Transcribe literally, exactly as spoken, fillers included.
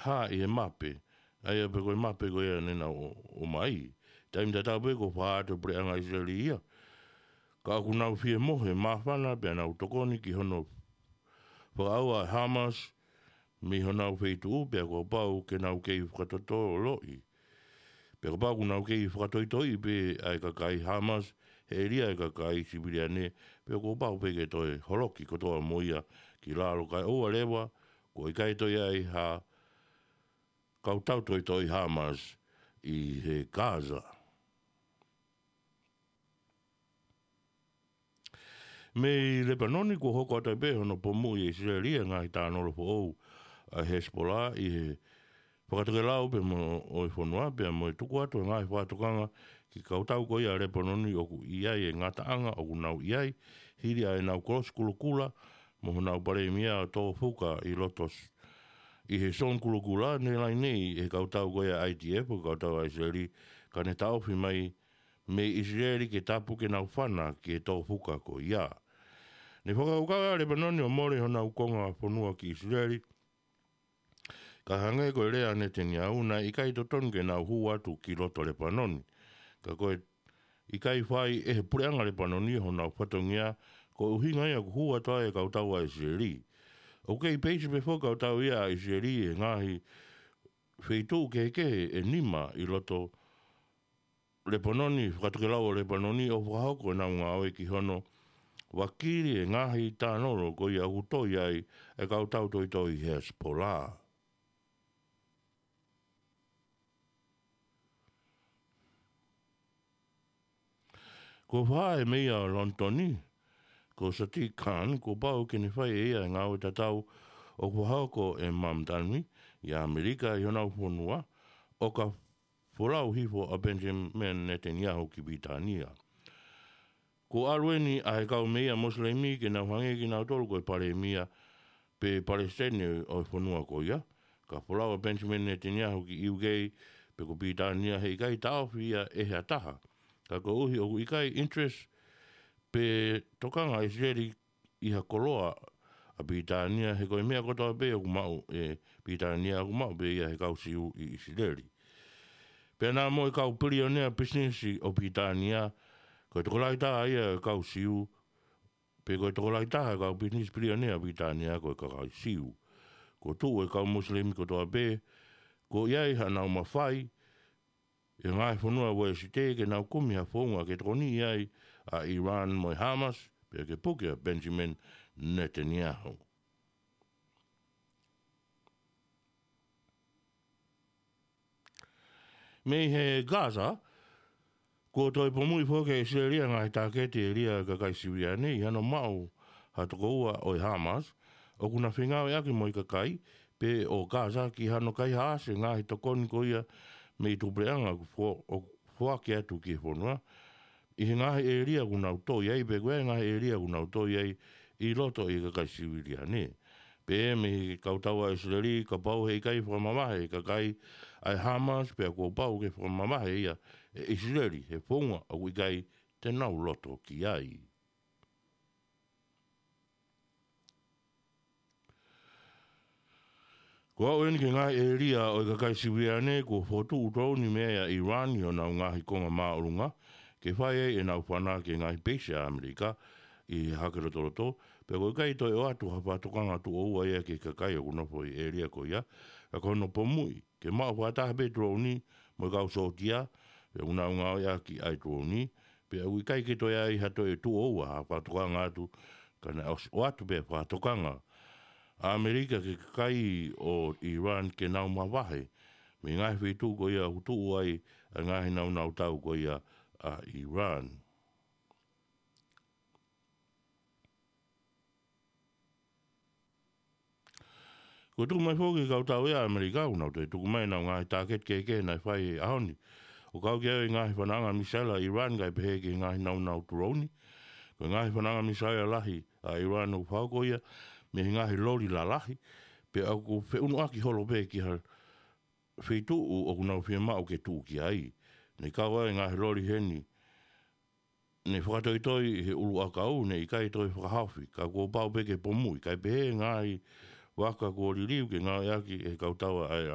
hā ʻi he mape, ʻa ia pē ko e mape ko ia naʻa nau ʻo, ʻomai. Taimi tatau pē kuo fakahā atu ʻe he puleʻanga ʻIsileli ia. Ka ʻoku nau fie mohe māfana pea nau tokoni ki hono fakaʻauha ʻa Hamas mei honau feituʻu pea kuo pau ke nau kei fakatotoloʻi. Pea kuo pau ke nau kei fakatoitoi pē ʻa e kakai Hamas, he ʻēlia ʻa e kakai siviliane, pea kuo pau pē ke toe holoki kotoa mo ia ki lalo kae ʻoua leva, kuo ʻikai toe ʻi ai ha kau tautoitoi Hamas ʻi he Gaza. Mei Lepanoni kuo hoko atu ai pē hono pomuʻi ʻe ʻIsileli ʻa e ngaahi tānolo foʻou ʻa Hezbollah ʻi he fakatokelau pea mo ʻo e fonua pea mo e tuku atu ʻa e ngaahi fakatokanga ki he kautau ko ia ʻa Lepanoni ʻoku ʻi ai e ngataʻanga ʻoku nau ʻi ai hili ʻa ʻenau kolosi kulokula mo honau palēmia ʻo tō fuka ʻi loto s-, ʻi he zone kulokula ne lainei ʻe he kautau ko ia ʻa e I D F ʻo e kautau ʻa ʻIsileli ka ne taʻofi mai mei ʻIsileli ke tapu ke nau fana ki he tō fuka ko ia. Ne fakakaukau ʻa Lepanoni ʻo mole honau konga fonua ki ʻIsileli, ka hangē ko e lea ʻa Netanyahu naʻe ʻikai totonu ke nau hū atu ki loto Lepanoni. Ka ko e ʻikai fai ʻe he puleʻanga Lepanoni honau fatongia ko e ʻuhinga ia ʻoku hū atu ai e kautau ʻa ʻIsileli. ʻOku kei peisi pē foki e kautau ia ʻa ʻIsileli he ngaahi feituʻu kehekehe ʻe nima ʻi loto Lepanoni, fakatokelau ʻo Lepanoni ʻo fakahoko ʻenau ngāue ki hono vakili e ngaahi tānolo ko ia ʻoku toe ʻi ai e kau tautoitoi Hezbollah. Kuo fakahā ʻe he meia ʻo Lonitoni, ko Sadiq Khan, kuo pau ke ne fai ʻe ia e ngāue tatau ʻoku fakahoko ʻe Mamdani ʻi ʻAmelika ʻi honau fonua, ʻo ka folau hifo ʻa Benjamin Netanyahu ki Pilitānia. Kuo ʻalu eni ʻa e kau meia Mosilemi ke nau hangē kinautolu ko e palēmia pe palesiteni ʻo e fonua ko ia, ka folau ʻa Benjamin Netanyahu ki U K pe ko Pilitānia he ʻikai taʻofi ia ʻe ha taha. Ka koeʻuhi ʻoku ʻikai interest pe tokanga ʻa ʻIsileli ʻi ha koloa ʻa Pilitānia, he ko e meʻa kotoa pē ʻoku maʻu ʻe Pilitānia ʻoku maʻu pē ia ʻe he kau Siu ʻi ʻIsileli. Pea naʻa mo e kau pilionea pisinisi ʻo Pilitānia, ko e tokolahi taha ia ʻo e kau Siu, pe ko e tokolahi taha e kau pisinisi pilionea ʻo Pilitānia ko e kakai Siu. Kuo tuʻu e kau Mosilemi kotoa pē, kuo ʻi ai haʻanau mafai, ʻi he ngaahi fonua Uēsite ke nau kumi ha founga ke tokoniʻi ai ʻa Iran mo e Hamas, pea ke puke ʻa Benjamin Netanyahu. Mei he Gaza, kuo toe pomuʻi foki ʻe ʻIsileli ʻa e ngaahi tāketi ʻēlia ʻa e kakai siviliane ʻi hano maʻu ha tokoua ʻo e Hamas, ʻoku na fengāueʻaki mo e kakai pē ʻo Gaza ki hano kaihaʻasi e ngaahi tokoni ko ia mei tuʻu puleʻanga ʻoku fo-, ʻoku foaki atu ki he fonua, ʻi he ngaahi ʻēlia ʻoku nau tō ʻi ai, pe ko e ngaahi ʻēlia ʻoku nau tō ʻi ai ʻi loto ʻi he kakai siviliane. Pea mei he kautau ʻa ʻIsileli, kapau he ʻikai fakamavahe e kakai ʻa e Hamas, pea kuo pau ke fakamavahe ia ʻe ʻIsileli he founga ʻoku ʻikai te nau loto ki ai. Kuo aʻu eni ki he ngaahi ʻēlia ʻo e kakai siviliane kuo fokotuʻu toloni mei ai ʻa Iran ʻi honau ngaahi konga māʻolunga, ke fai ai ʻenau fana ki he ngaahi peisi ʻa ʻAmelika ʻi he hake lotoloto, pea ʻoku ʻikai toe ʻoatu ha fakatokanga tuʻo ua ia ki he kakai ʻoku nofo ʻi he ʻēlia ko ia, ka ko hono pomuʻi ke maʻu fakataha pē toloni mo e kau sōtia, pea ʻoku nau ngāueʻaki ʻa e toloni, pea ʻoku ʻikai ke toe ʻi ai ha toe tuʻo ua ha fakatokanga atu, ka naʻe ʻosi ʻoatu pē fakatokanga ʻa ʻAmelika ki he kakai ʻo Iran ke nau mavahe mei he ngaahi feituʻu ko ia ʻoku tuʻu ai ʻa e ngaahi nāunau tau ko ia ʻa Iran. Kuo tuku mai foki ki he kautau ia ʻa ʻAmelika, ʻoku nau toe tuku mai ʻenau ngaahi tāketi kehekehe naʻe fai he ʻaho ni, ʻo kau ki ai e ngaahi fananga misaila ʻa Iran kae pehē ki he ngaahi nāunau toloni. Ko e ngaahi fananga misaila lahi ʻa Iran ʻoku fakahoko ia mei he ngaahi loli lalahi, pea ʻoku feʻunuʻaki holo pē ki ha feituʻu ʻoku nau fiemaʻu ke tuʻu ki ai. Ne kau ai e ngaahi loli heni ne fakatoitoi he ʻuluʻakau, ne ʻikai toe fakahaofi, ka kuo pau pē ke pomuʻi, kae pehē ngaahi vaka kuo liliu ke ngāueʻaki ʻe he kautau ʻa e